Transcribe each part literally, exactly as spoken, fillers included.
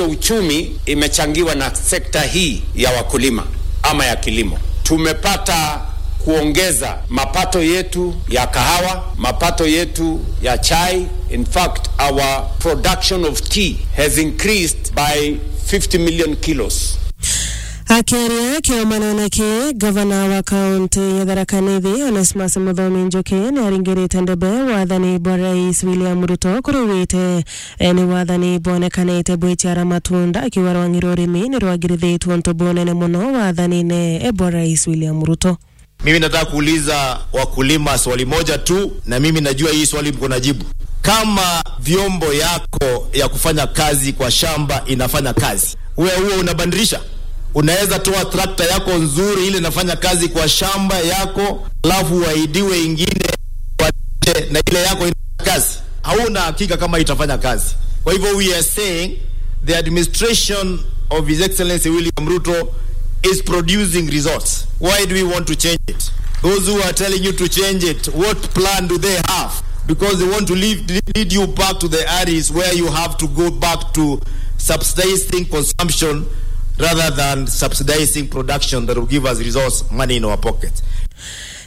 uchumi imechangiwa na sekta hii ya wakulima ama ya kilimo. Tumepata kuongeza mapato yetu ya kahawa, mapato yetu ya chai. In fact, our production of tea has increased by fifty million kilos. Akiaria kiomanone ki, gavana wa kaunti ya Tharaka Nithi, Onesmus Muthomi Njuki, ni aringirite ndebe wathani bwa Rais William Ruto kuri wite, e, ni wathani bwonekanite bwiciara matunda, akiuga rwang'i rwa urimi ni rwagirithitue untu bunene mono wathanine, e, bwa Rais William Ruto. Mimi nataka kuuliza wakulima swali moja tu, na mimi najua hii swali mko na jibu. Kama vyombo yako ya kufanya kazi kwa shamba inafanya kazi, wewe huo unabadilisha? Unaweza toa trakta yako nzuri ile inafanya kazi kwa shamba yako, alafu uahidiwe ingine kwa nje na ile yako inafanya kazi? Hauna hakika kama itafanya kazi. Kwa hivyo we are saying the administration of His Excellency William Ruto is producing results. Why do we want to change it? Those who are telling you to change it, what plan do they have? Because they want to lead, lead you back to the areas where you have to go back to subsidizing consumption rather than subsidizing production that will give us results, money in our pockets.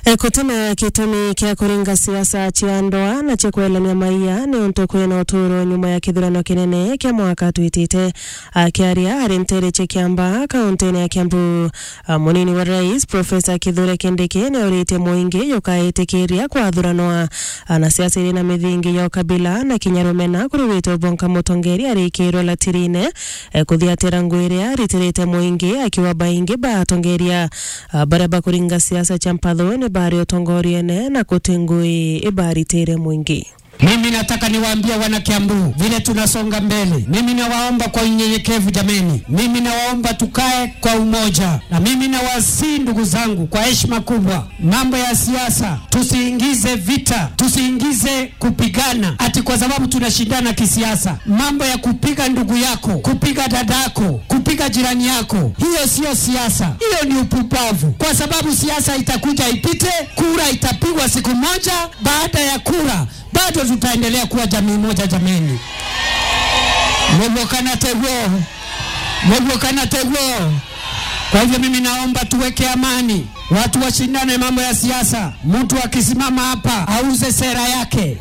E, gutuma gitumi kia kuringa siasa cia ndoa na cia kwelania maia ni untu kwina uturo nyuma ya kithurano kinene kia mwaka twitite. Akiaria ari ntere cia Kiambaa, kauntine ya Kiambu, a, munini wa rais, Professor Kithure Kindiki, ni auritie muingi jukaitikiria kwathuranwa, a, na siasa iri na mithingi ya ukabila na kinya rumena kuri wito bwa nka mutongeria arikirwe latirine, e, kuthiatira ngui iria aritirite muingi, akiuga baingi ba atongeria, a, baria bakuringa siasa cia mpatho ni bari utongoriene na guti ngui ibaritire muingi. Mimi nataka niwaambie wana Kiambu, vile tunasonga mbele, mimi nawaomba kwa unyenyekevu jameni, mimi nawaomba tukae kwa umoja, na mimi nawasihi ndugu zangu kwa heshima kubwa, mambo ya siasa tusiingize vita, tusiingize kupigana ati kwa sababu tunashindana kisiasa. Mambo ya kupiga ndugu yako, kupiga dadako, kupiga jirani yako, hiyo sio siasa, hiyo ni upumbavu, kwa sababu siasa itakuja ipite, kura itapigwa siku moja, baada ya kura bado tutaendelea kuwa jamii moja jameni. Mugwo kana teguo? Mugwo kana teguo? Kwa hivyo mimi naomba tuweke amani, watu washindane mambo ya siasa. Mtu akisimama hapa auze sera yake,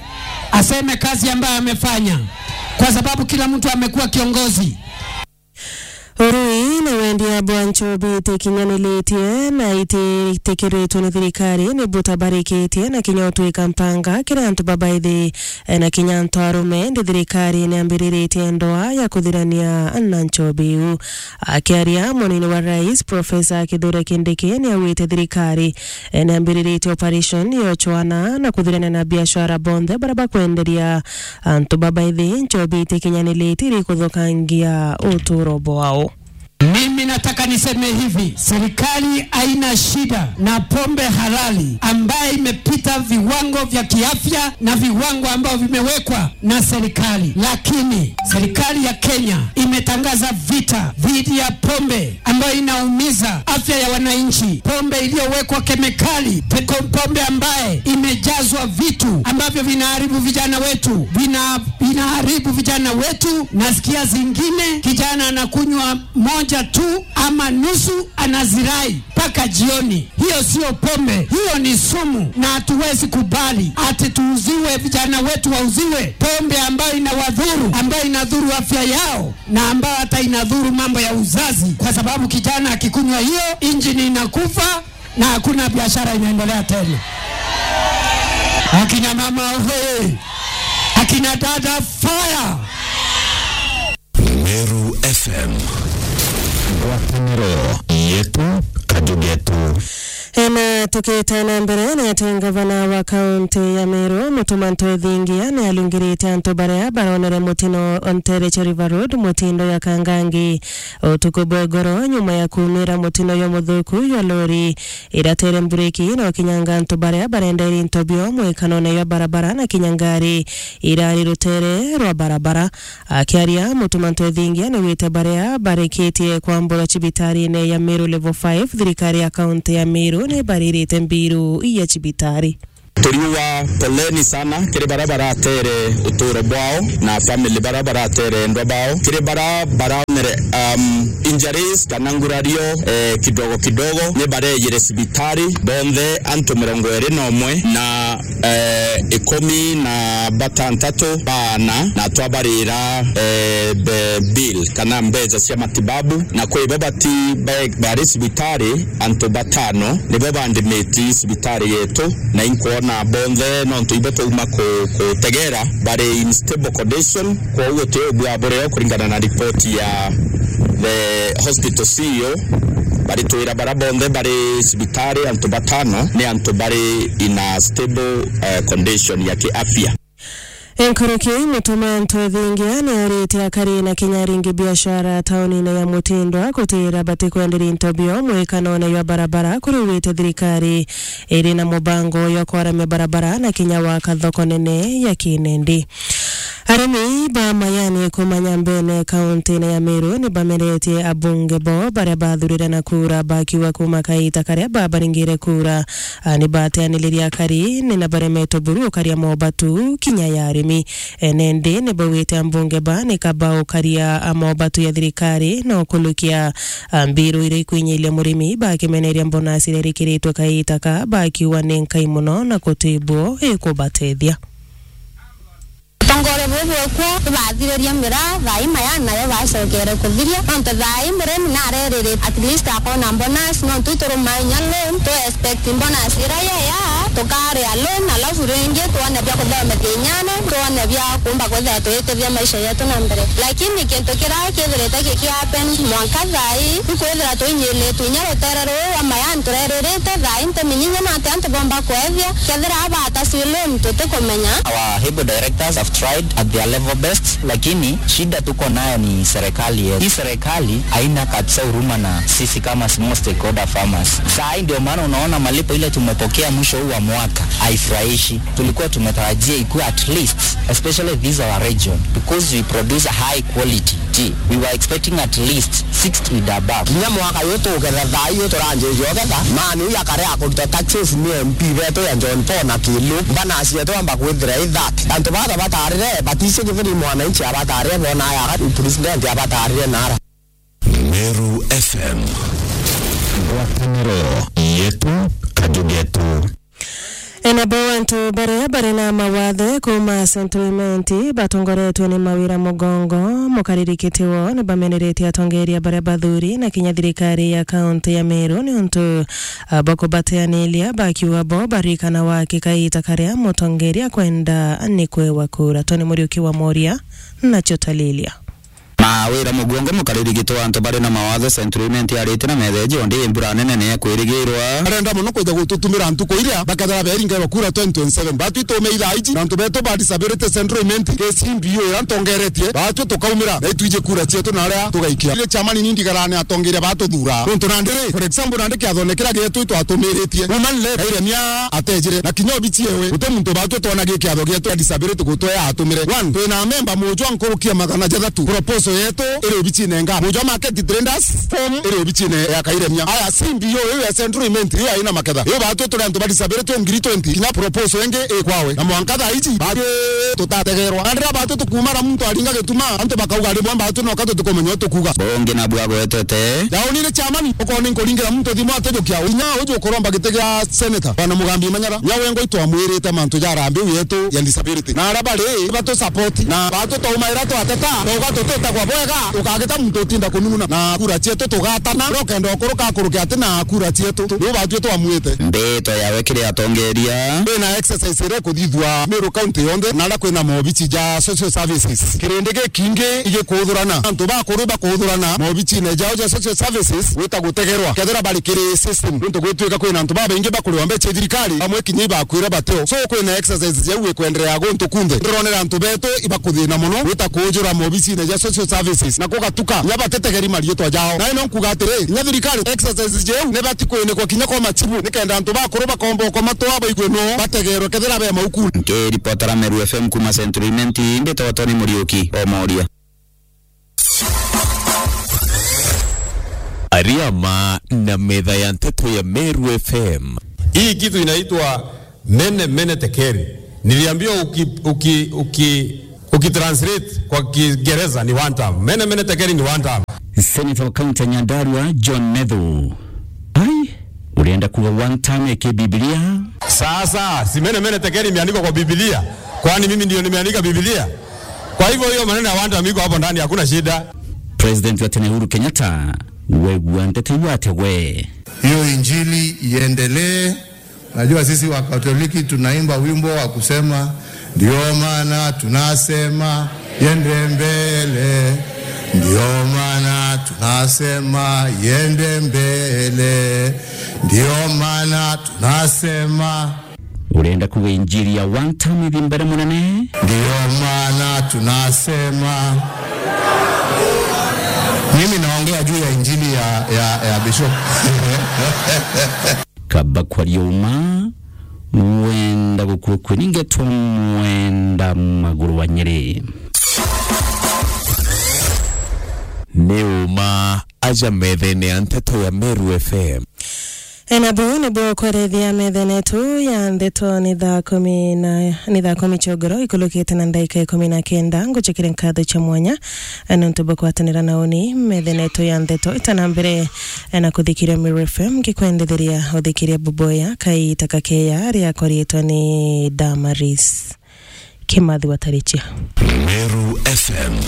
aseme kazi ambayo amefanya, kwa sababu kila mtu amekuwa kiongozi. Urui na wendia bwa nchobi itikinyanilitie na ititikiritwe ni thirikari ni butabarikitie na kinya utwika mpanga kiri antu babaithi, e, na kinya antu arume. Ndi thirikari ni ambiriritie ndoa ya kuthirania na nchobi iu. Akiaria, munini wa rais, Professor Kithure Kindiki, ni augite thirikari, e, ni ambiriritie operation ya uchwana na kuthirania na biashara bonthe baria bakwenderia antu babaithi nchobi itikinyaniliti iri kuthukangia uturo bwao. Mimi nataka niseme hivi, serikali haina shida na pombe halali ambayo imepita viwango vya kiafya na viwango ambavyo vimewekwa na serikali, lakini serikali ya Kenya imetangaza vita dhidi ya pombe ambayo inaumiza afya ya wananchi, pombe iliyowekwa kemikali, pe-, pombe ambaye imejazwa vitu ambavyo vinaharibu vijana wetu, vina-, vinaharibu vijana wetu. Nasikia zingine kijana anakunywa moja tu ama nusu, anazirai mpaka jioni. Hiyo sio pombe, hiyo ni sumu, na hatuwezi kubali ati tuuziwe, vijana wetu wauziwe pombe ambayo inawadhuru, ambayo inadhuru afya yao, na ambayo hata inadhuru mambo ya uzazi, kwa sababu kijana akikunywa hiyo, injini inakufa na hakuna biashara inaendelea tena. Akina mama oye! Akina dada fire! Meru F M. Ngwataniro yetu, kaju getu. Ena tukite na mbere, ni ati ngavana wa kaunti ya Meru, Mutuma Ntwethingia, ni alungirite antu baria baronere mutino o ntere cia River Road, mutindo ya Kangangi, utuku bwa igoro, nyuma ya kuumira mutino yo muthuku yo lori iratere mbureki na ukinyanga antu baria barenderi into bio mwikanone yo barabara na kinya ngari irari rutere rwa barabara. Akiaria, Mutuma Ntwethingia niwite baria barikitie kwamburwa cibitarine ya Meru Level five, thirikari ya kaunti ya Meru nibaririte mbiru ya cibitari. Turiuga poleni sana kiri bara baratere uturo bwao na family bara baratere endwa bao, kiri bara baraonere, um, injuries kana ngurario, eh, kidogo kidogo, ni barejire cibitari bonthe antu mirongo iri na umwe na, eh, ikumi na batantatu baana, na twabarira, eh, be-, bill kana mbeca cia matibabu, na kwi bo bati ba-, bari cibitari, antu batano nibo bandimiti cibitari yetu, na inkwona bonthe nontu ibo twauma ku-, kutegera bari in stable condition. Kwoguo ti ubua bureo kuringana na ripoti ya the hospital C E O, baritwira bara bonthe bari cibitari, antu batano ni antu bari in a stable, eh, condition ya kiafya. Enkuruki mutuma antu ethingia ni arite akari na kinya aringi biashara taunine ya Mutindwa kutira batikwenderia into bio mwikanone jwa barabara kuriwite thirikari iri na mubango jwa kwaramia barabara na kinya waka thoko nene ya Kinendi. Arimi ba Mayani kuma Nyambene, kauntine ya Meru, ni bameretie abunge bo baria bathurire na kura, bakiuga kuma kaita karia babaringire kura, a, ni bateaniririe akari, ni na baremetwe buru ukaria mobatu kinya ya arimi. Ene ndi ni baugite abunge ba ni kaba ukaria, a, mobatu ya thirikari na ukulukia, a, mbiru iria ikwinyilia murimi, bakimeneria mbonasi iria irikiritwe kaita ka, bakiuga ni nkai muno na kuti bo ikubatethia. Utongore bubu bwekwo ibathiririe miraa, thaa ii Mayani nayo bacokere kuthiria, nontu thaa ii murimi narerire at least akona bonus, nontu ituruma inya loan, tu expect bonus iria yeya, tukaria loan, alafu ringi twone bia kuthomethia inyana, twone bia kumba kwithira tuitethia maisha yetu na mbere. Lakini kintu kiria kithirite giki happen mwanka thaa ii, ikwithira tuinyiritwe inya rutere ruu rwa Mayani tureririte, thaa ii ntiminyinye nati antu bomba kwethia, kethira abatasi loan tutikumenya. Our H I B O directors have tried at their level best, lakini shida tuko nayo ni serikali yetu. Hii serikali haina kabisa huruma na sisi kama small stakeholder farmers. Saa hii ndio maana unaona malipo ile tumepokea mwisho huu wa mwaka haifurahishi. Tulikuwa tumetarajia ikuwe at least, especially this our region, because we produce a high quality tea. We were expecting at least sixty and above. Kinya mwaka uyu tugetha thaa ii turanjiria ugetha, mani uyu akarea kuruta taxes ni M P betu ya John Paul na Kilu, mbanasi yetu amba kwithira i thirty. Antu batha batarire, batisi githiri mwananchi abatarire, bona aya president abatarire nara. Meru F M. Ngwataniro yetu, kaju getu. Enabo antu baria bari na mawathe kuma Central Imenti batongoretwe ni Mawira Mugongo, mukaririkiti woo, ni bameneretie atongeria baria bathuri na kinya thirikari ya kaunti ya Meru ni untu, ah, bwa kubateaniria, bakiuga bo barikana waki kaita karia mutongeria kwenda ni kwewa kura. Tony Muriuki wa Moria nacio talilia. Mawira Mugongo, mukaririkiti wa antu bari na mawathe Central Imenti, arite na metheji undi mbura nene ni ekwirigirwa. Arenda mono kwija gututumira ntuku iria bakethira beringairwa kura twenty twenty-seven. Batwi tume ithaa iji na antu betu ba disability Central Imenti, K C B U iria ntongeretie, batwi tukaumira na itwiji kura cietu na aria tugaikia. Ile chamani ni ndigarane atongeria batuthura. Nontu nandi ri, for example, nandi kiathone kiria gietu itwatumiritie. Woman led, Kairemia atejire, na kinya obici ewe, guti muntu batwi twona gi kiatho gietu ya disability gutwea atumire. One, twina memba mujwa nkuruki ya magana jathatu. Proposal yetu iri obicine nga. Mujwa market traders form iri obicine ya Kairemia. Aya, C B O iu ya Central Imenti, iu aina maketha. Iu batwi turi antu ba disability ngiri twenty, kinya proposal ingi ikwawe. Na mwanka thaa iji, batwi tutategerwa. Na ndira batwi tukumara muntu aringa gituma, antu bakauga rimwe batwi noka tutikumenya utukuga. Bungi nabu agwetete. Yaunire chamani, ukoni nkuringira muntu thimu atujukia. Inya uju ukuromba giti gia senator, Bwana Mugambi Manyara, nya wengwa itwamwirite mantu ja arambi u yetu ya disability. Na aria bari, batu support. Na batu twaumaira twateta, twauga tutitagwa bwega, ukagita muntu utinda kunung'una. Na kura cietu tugatana, rokenda ukuruka akuruke ati na kura cietu. Riu batwi twamwite. Mbito yawe kiri atongeria. Kwina exercise iria ikuthithua Meru County yonthe, na aria kwina mobici ja social services. Kirindi gikingi igikuthurana. Antu bakuru bakuthurana mobicine jao ja social services gwita gutegerwa. Kethira bari kiri system. Nontu gwitwika kwina antu babaingi bakuriwa mbeca i thirikari, bamwe kinya ibakwira bateo. So kwina exercise jau ikwenderea guntu kunthe. Ndironera antu betu ibakuthina mono gwita kuujura mobicine ja social services. Na kugatuka, nya batitegeri mariitwa jao. Na ino nkuga atiri, nya thirikari exercise jau ni bati kwinikwa kinya kwa machibu, nikenda antu bakuru bakomba ukomatwa baigue no bategerwe kethira be maukuni. Nkiripotera Meru F M kuma Central Imenti, mbitagwa Tony Muriuki o Moria. Ariama na metha ya nteto ya Meru F M. Hii kitu inaitwa Mene mene tekeri. Niliambiwa uki, uki, uki, ukitranslate kwa Kiingereza ni one term. Mene mene tekeri ni one term. Senator wa kaunti ya Nyandarua, John Methu. Ai, urienda kuga one term ya Kibibilia? Sasa, si mene mene tekeri imeandikwa kwa Biblia? Kwani mimi ndio nimeandika Biblia? Kwa hivyo hiyo maneno ya one term iko hapo ndani, hakuna shida. President wa tene Uhuru Kenyatta, wegua nteto iu atia we? Hiyo injili iendelee. Najua sisi wa Katoliki tunaimba wimbo wa kusema, "Ndio maana tunasema yende mbele. Ndio maana tunasema yende mbele. Ndio maana tunasema." Urenda kuga injili ya one term ithi mbere munene? Ndio maana tunasema. Mimi naongea juu ya injili ya, ya, ya Bishop. Kaba kwaria uma, wenda gukua kwe ningetwa mwenda maguru wa Nyeri. Ni uma aja methene ya nteto ya Meru F M. Ena buu nibuo kwerethia methene yetu ya nteto ni thaa kumi na, ni thaa kumi ciogoro ikulukite na ndaika ikumi na kenda. Ngucikire nkatho cia mwanya, eh, nontu bwa kwatanira na uni methene yetu ya nteto itana mbere, eh, na kuthikiria Meru F M, ngikwendethiria uthikiria buboya kaita kakeya riakwa riitwa ni Damaris Kimathi Watarichia. Meru F M.